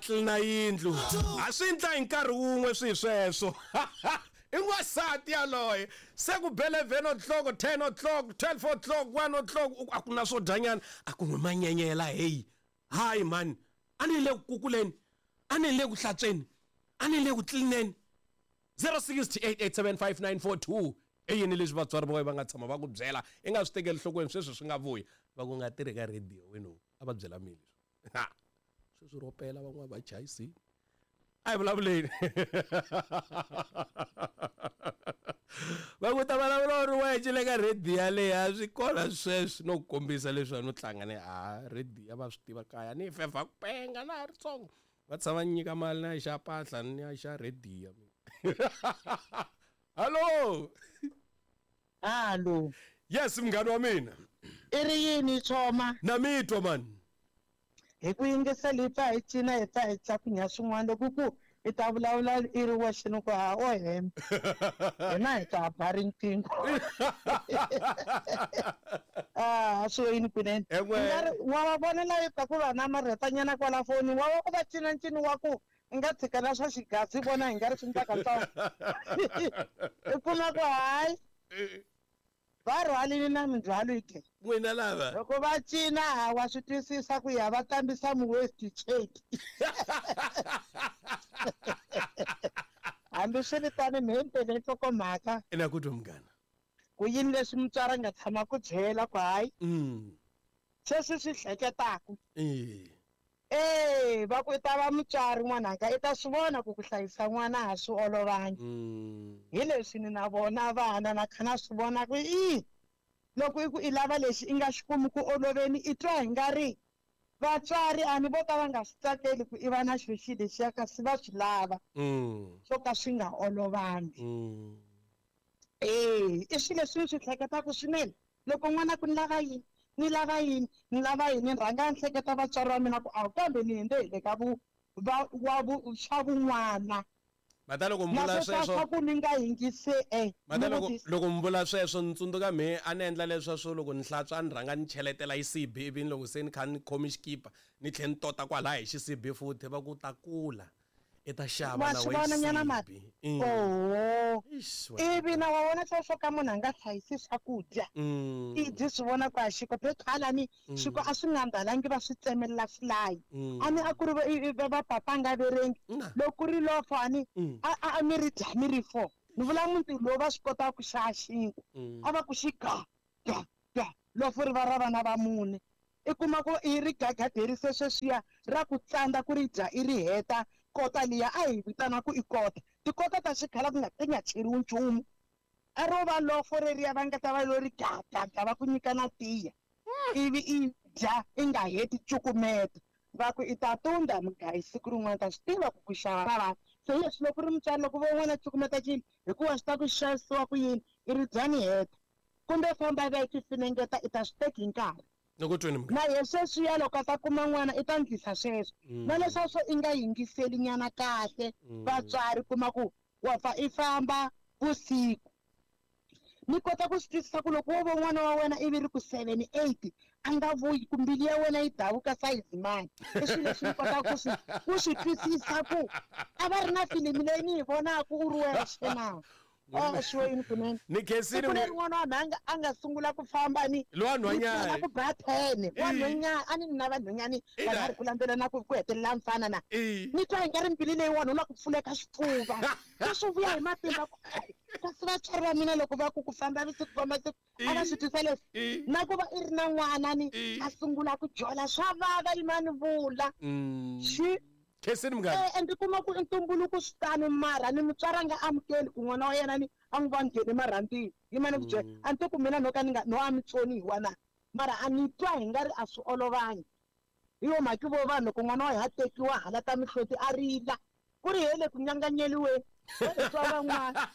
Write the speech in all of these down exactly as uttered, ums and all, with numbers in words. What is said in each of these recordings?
Tlilina yindlu a swi ndla hi nkarhi wun'we swi sweswo i n'wansati yaloye se ku be eleven o'clock, ten o'clock, twelve o'clock, one o'clock a ku na swo dyanyana a ku n'wi manyenyela heyi hayi mani a ni le ku kukuleni a ni le ku hlantsweni a ni le ku tlilineni zero six eight eight seven five nine four two i yini leswi vatswari va wena va nga tshama va ku byela i nga swi tekeli nhlokweni sweswi swi nga vuyi va ku nga tirhi ka radio wena a va byela mina leswi ha sweswi ro pela van'wana va chayisini a hi vulavuleni va ku ta vulavula u ri wexe le ka radio yaleyo a swi kona sweswi no ku kombisa leswi a no tlanga ni a radio va swi tiva kaya ni fevha ku penga na ha ri tsongo va tshama ni nyika mali na ya xa mpahla ni ya xa radio hallo hallo yes munghana wa mina i ri yini choma na mi twa mani hi ku yingisela hi pfa hi cina hi pfa hi tlakunya swin'wana loko ku i ta vulavula i ri wexe ni ku ha o hemba hina hi ta ba riqingho a swi yini kunene wa va vona la yi ta ku va namarhetanyana kwala foni wa va ku va cina ncino wa ku i nga tshika na swa xigazi vona hi nga ri swi ntsakatsaka i kuma ku hayi va rhwalile na mindzhwalo yi ke n'wina lava loko va cina ha wa swi twisisa ku ya va tambisa mu-waste cheki hambi swi ri tani mhempele nhlokomhaka ina ku twa munghana ku yini leswi mutswari a nga tshama ku byela ku hayi sweswi swi hleketaku Eh va ku i ta va mutswari n'wananga i ta swi vona ku ku hlayisa n'wana a swi olovangi hi leswi ni na vona vana na kha na swi vona ku i loko i ku i lava lexi i nga xi kumi ku oloveni i twa hi nga ri vatswari a ni vo ka va nga swi tsakeli ku i va na xilo xi lexiya kasi va swi lava swo ka swi nga olovangi eh i swilo leswi ni swi hleketaka swinene loko n'wana ku ni lava yini ni lava yini ni lava yini ni rhanga ni hleketa vatswari va mina ku a kambe ni hindze hi le ka vu va wa vu swa vun'wana mata loko mi vula sweswo ku ni nga yingise eh mata loko loko mi vula sweswo ni tsundzuka me a ni endla leswa swo loko ni hlantswa a ni rhanga ni cheletela xisibi ivi loko se ni kha ni khomi xikipa ni tlhe ni tota kwalaya hi xisibi futhi va ku ta kula i ta xava na wena nyana mati oho ivi na wa vona sweswo ka munhu a nga hlayisi swakudya i dyi swi vona ku a xiko phethalani xiko a swi nga mbalangi va swi tsemelela swilayi a ni a ku ri va papa nga verengi loko ku ri lofo a ni a a mi ri dya mi ri four ni vula muti lowu va swi kotaka ku xava xinkwa a va ku xi ga ga ga lofo ri va ra vana va mune i kuma ku i ri gagaderise sweswiya ra ku tsandza ku ri dya i ri heta kota liya a hi vitana ku i kota tikota ta xikhala ku nga ti nga cheriwi nchumu a ro va lofo reriya va nga ta va lo ri gagaga va ku nyika na tiya ivi i dya i nga heti cukumeta va ku i ta tunda mugayi siku rin'wana ta swi tiva ku ku xava ra vanhu se leswi loko ri mutswari loko vo n'wana cukumeta cini hikuva swi ta ku xavisiwa ku yini i ri dya ni heta kumbe famba va yi ti finengeta i ta swi teki hi nkarhi na ye sweswiya loko a ta kuma n'wana i ta ndlisa sweswo na leswaku i nga yingiseli nyana kahle vatswari kuma ku wa pfa i famba vusiku ni kota ku swi twisisa ku loko wo vo n'wana wa wena ivi ri ku seven eight a nga vuyi ku mbilu ya wena yi davuka sayizi mani i swilo leswi ni kotaka ku swi ku swi twisisa ku a va ri na filimi leyi ni yi vonaka u ri wexe na oh sure yini kunene ni khensile ku ri n'wana wa mhanga a nga sungula ku famba ni lowa nhwanyana ku ba ten wa nhwanyana a ni na vanhwanyani va nga ri ku landzelela na ku ku hetelela mfana na ni twa hi nga ri mbilu leyi wanhu la ku pfuleka xifuva swi vuya hi matimba ku kasi vatswari va mina loko va ku ku famba vusiku famba siku a va swi twisa leswi na ku va i ri na n'wana ni a sungula ku jola swa vava yimani vula xi Khensini munghana eh ndzi kuma ku ntumbuluko swi tano mara ni mutswari a nga amukeli ku n'wana wa yena ni a n'wi va ngheni marhandzini yimani ku byela a ni to ku mina no ka ni nga no a mi tsoniwa na mara a ni twa hi nga ri a swi olovangi hi yo mhaka vo vanhu loko n'wana wa ha tekiwa hala ta mihloti a rila ku ri hele ku nyanganyeliweni twa van'wana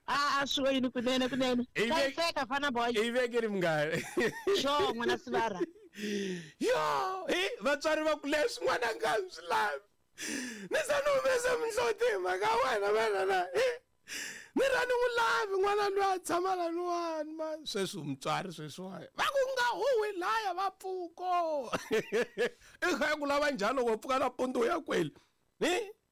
a swi yini kunene kunene hlayiseka fana boy i vekeri munghana sure n'wana sivara yo hi vatswari va ku leswi n'wana nga swi lavi ni za ni humesa mihloti hi mhaka wena vanana hi Ni ra ni n'wi lavi n'wana loyi a tshama laniwani ma sweswi mutswari sweswiwani va ku nga huwi laya va pfuko. I kha ku lava njhani loko u pfuka nampundzu ya kweli ni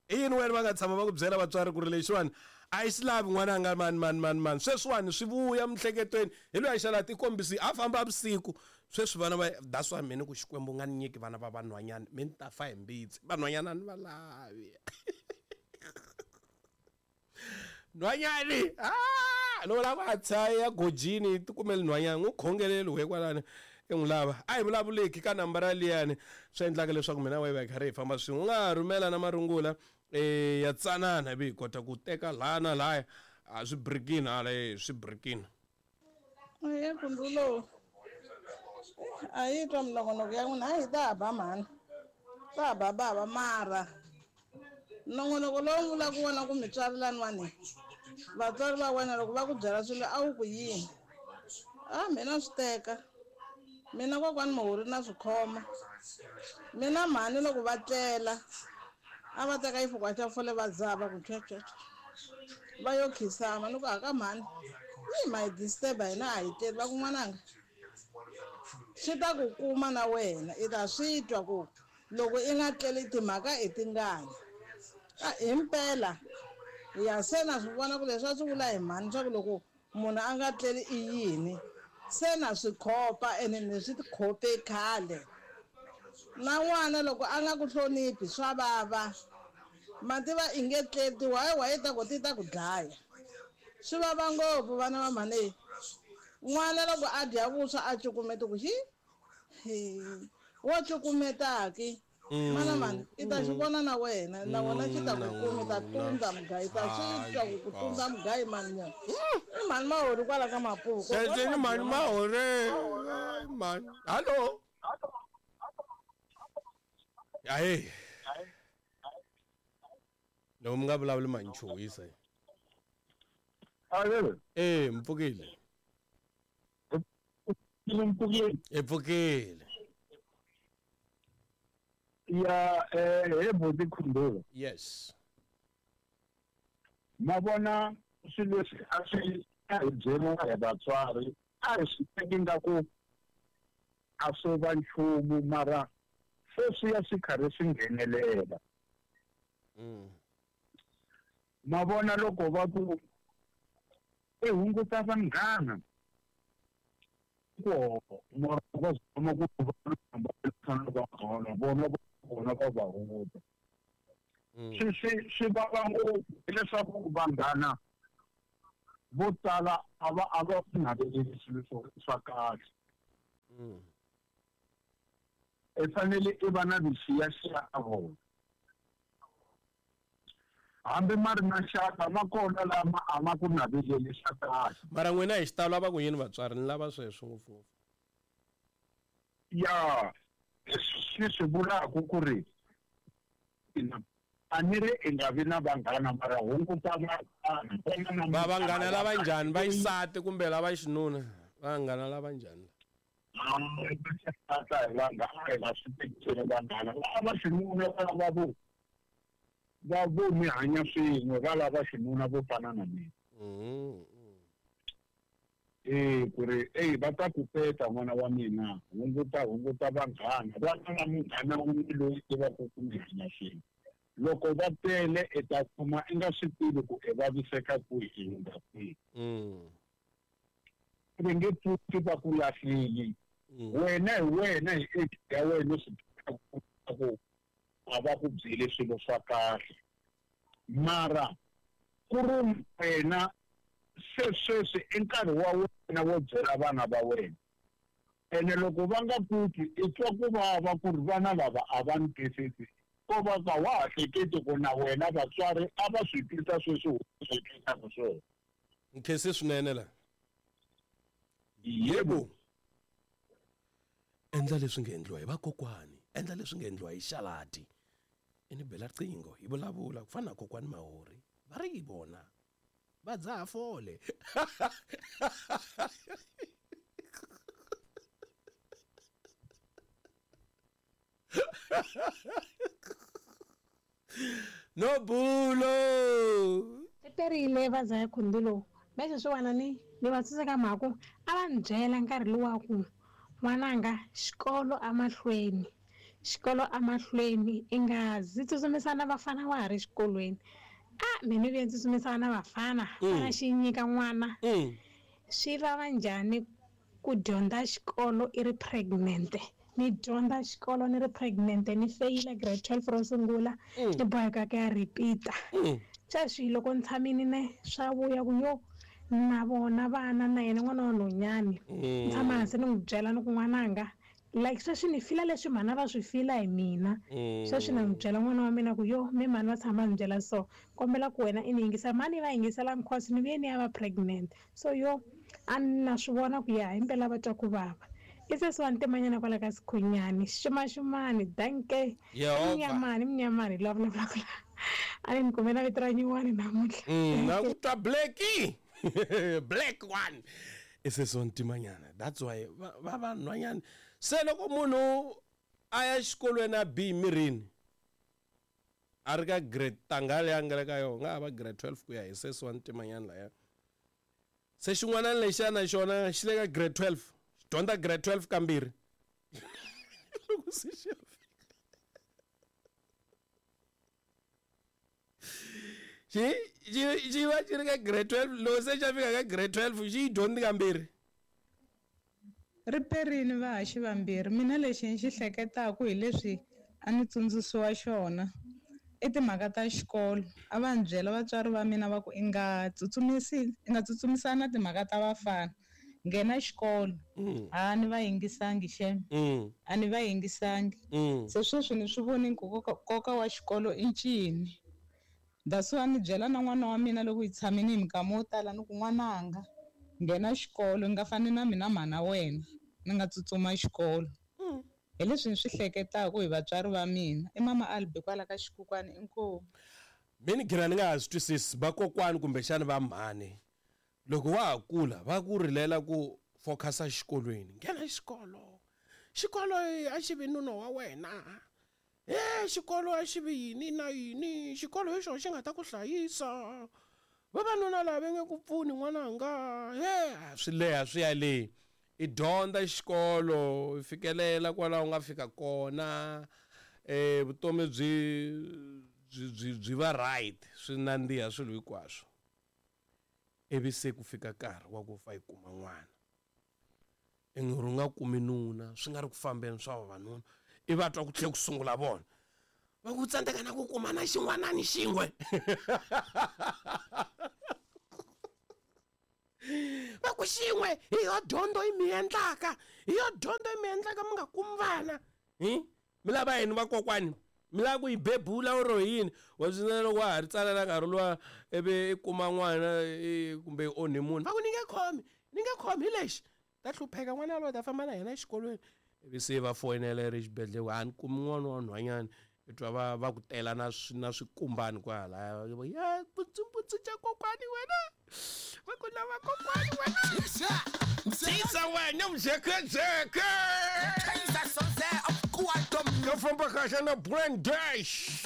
i yini wena va nga tshama va ku byela vatswari ku ri lexiwani a yi xi lavi n'wana a nga mani mani mani mani sweswiwani swi vuya miehleketweni hi loyi a xala tikombisi a famba vusiku sweswi vana va that's why mina ku Xikwembu nga ni nyiki vana va vanhwanyana mi ni ta fa hi mbitsi vanhwanyana ni va lavi. Nhwanyani ah loko lava a tshaya gojini ti kumele nhwanyana n'wi khongeleli we kwalani i n'wi lava a hi vulavuleki ka nambara liyani swi endlaka leswaku mina wehe va hi karhi hi famba swin'we u nga ha rhumela na marungula eh ya tsanana ivi hi kota ku teka laha na lahaya a swi brikini hala e swi brikini. E kundulo a yi twa minongonoko ya n'wina a yi ta ba mhani ta ba bava mara nongonoko lowu vulaka wona ku mitswari laniwani vatswari va wena loko va ku byela swilo a wu ku yini a mina swi teka mina kokwani Muhuri na swi khoma mina mhani loko va tlela a va teka xifukwa xa fole va dzaha va ku tshwetshwetshwe va yo khisama ni ku haka mhani yi ma hi disturb hina a hi tleli va ku n'wananga swi ta ku kuma na wena i ta swi twa ku loko i nga tleli timhaka i tingani a himpela ya se na swi vona ku leswi a swi vula hi mhani swa ku loko munhu a nga tleli i yini se na swi khopa ene ni swi khope khale na n'wana loko a nga ku hloniphi swa vava mativa i nge tleli tiwayiwayi ta ku ti ta ku dlaya swi vava ngopfu vana va mhani n'wana loko a dya vuswa a cukumeta ku xi wo cukumetaki mana mani i ta xi vona na wena na wena xi ta ku kumi ta tundza mugayi ta swi twa ku ku tundza mugayi mani nyana i mhani Mahori kwala ka Mapuku ni mhani Mahori mhani hallo ahe loko mi nga vulavuli mani chuhisa e mpfukile i pfukile ya eh he buti Khundulu yes ma vona swilo leswi a swi a hi byeriwa hi vatswari a hi swi teki nga ku a swo va nchumu mara se swi ya swi karhi swi nghenelela. Ma vona loko va ku i hunguta vanghana ku mara va zama ku va vona vona va va hunguta swi swi swi vava ngopfu hileswaku vanghana vo tala a va a va naveleli swilo swa kahle. I fanele i va na vuxiyaxiya ka vona hambi ma ri maxaka ma kona lama a ma ku naveleli swa kahle. Mara n'wina hi xitalo a va ku yini vatswari ni lava sweswo ngopfungopfu ya leswi swi vulaka ku ri a ni ri i nga vi na vanghana mara hunguta vanghana va vanghana lava njhani va xisati kumbe lava xinuna vanghana lava njhani hi vanghana hi nga swi tekiseni vanghana lava xinuna va lava vo va vo mi hanya swin'we va lava xinuna vo fana na mina e ku ri eyi va ta ku peta n'wana wa mina hunguta hunguta vanghana va na munghana wun'we loyi tivaka ku mi hanya swin'we loko va tele i ta kuma i nga swi tivi ku i vaviseka kwihi i hundza kwihi va nge pfuki va ku lahlile wena hi wena hi age ya wena swi tiva ku a va ku byeli swilo swa kahle mara ku ri wena se sweswi i nkarhi wa wena wo byela vana va wena ene loko va nga ku twi i twa ku vava ku ri vana lava a va ni twisisi ko va ka wa ha hleketi ku na wena vatswari a va swi twisa sweswi u swi twisaka swona. Nkhensi swinene la yebo endla leswi nga endliwa hi vakokwani endla leswi nga endliwa hi xalati i ni bela riqingho hi vulavula ku fana na kokwani Mahori va ri yi vona va dzaha fole no bulo. Perile va za ya khundulo me sweswiwani ni ni va tsundzuka mhaka ku a va ni byela nkarhi luwa ku n'wananga xikolo amahlweni xikolo amahlweni i nga zi tsutsumisana vafana wa ha ri xikolweni a mina ni vuye ni tsutsumisana na vafana fana xi nyika n'wana swi vava njhani ku dyondza xikolo i ri pregnant ni dyondza xikolo ni ri pregnant ni feyila grade twelve ro sungula ni boheka ku ya repeat-a sweswi loko ni tshamile ne swa vuya ku yo na vona vana na yena n'wana wa nhwanyana ni tshama hansi ni n'wi byela ni ku n'wananga like sweswi ni fila leswi mhana va swi fila hi mina sweswi na n'wi byela n'wana wa mina ku yo mi mhani va tshama ni byela so kombela ku wena i ni yingisa mhani va yingisela because ni vuye ni ya va pregnant so yo a ni na swi vona ku ya himpela va twa ku vava i sesi wa ntimanyana kwala ka Sikhunyani xumaxumani danke mnyamani mnyamani la vulavulaka la a ni ni kumela vito ra nyuwani namuntlha na ku twa blackie black one i sesi wa ntimanyana that's why va vanhwanyana se loko munhu a ya xikolweni a bi mirini a ri ka grade tanga leyi a nga le ka yona nga ha va grade twelve ku ya hi sesi wa ntimanyana laya se xin'wana lexiya na xona xi le ka grade twelve xi dyondza grade twelve kambirhi loko se xi ya fika xi xi xi va xi ri ka grade twelve loko se xa fika ka grade twelve xi yi dyondzi kambirhi ri perini vahaxi vambirhi mina lexi ni xi hleketaka hi leswi a ni tsundzuxiwa xona i timhaka ta xikolo a va ni byela vatswari va mina va ku i nga tsutsumisi i nga tsutsumisana timhaka ta vafana nghena xikolo a ni va yingisangi xem a ni va yingisangi se sweswi ni swi voni ku nkoka wa xikolo i ncini that's why ni byela na n'wana wa mina loko hi tshamini hi minkama wo tala ni ku n'wananga nghena xikolo ni nga fani na mina mhana wena ni nga tsutsuma xikolo hi leswi ni swi hleketaka hi vatswari va mina i mama Albi kwala ka xikukwani inkomu mi ni ghina ni nga ha swi twisisi vakokwani kumbexani va mhani loko wa ha kula va ku rilela ku focusa xikolweni nghena xikolo xikolo a xi vi nuna wa wena e xikolo a xi vi yini na yini xikolo hi xona xi nga ta ku hlayisa vavanuna lava va nge ku pfuni n'wananga he swi leha swi ya le i dyondza xikolo i fikelela kwalaho u nga fika kona eh vutomi byi byi byi va right swi nandziha swilo hinkwaswo ivi se ku fika nkarhi wa ku fa yi kuma n'wana i ngi ri nga kumi nuna swi nga ri ku fambeni swa vavanuna i va twa ku tlhe ku sungula vona va ku tsandzeka na ku kuma na xin'wanani xin'we va ku xin'we hi yo dyondzo yi mi endlaka hi yo dyondzo yi mi endlaka mi nga kumi vana hi mi lava yini vakokwani mi lava ku yi bebula oro yini wa swi loko wa ha ri tsala na nkarhi luwa ivi i kuma n'wana kumbe i onhe munhu va ku ni nge khomi ni nge khomi hi lexi ta hlupheka n'wana yaloye ta famba na yena exikolweni ivi se va foyinela i ri xibedhlele a ni kumi n'wana wa nhwanyana i twa va va ku tela na na swikumbani kwalaya ya putsumputsu xa kokwani wena va ku lava kokwani wena tisa wena mjekejeke yo famba kahle na brand dash.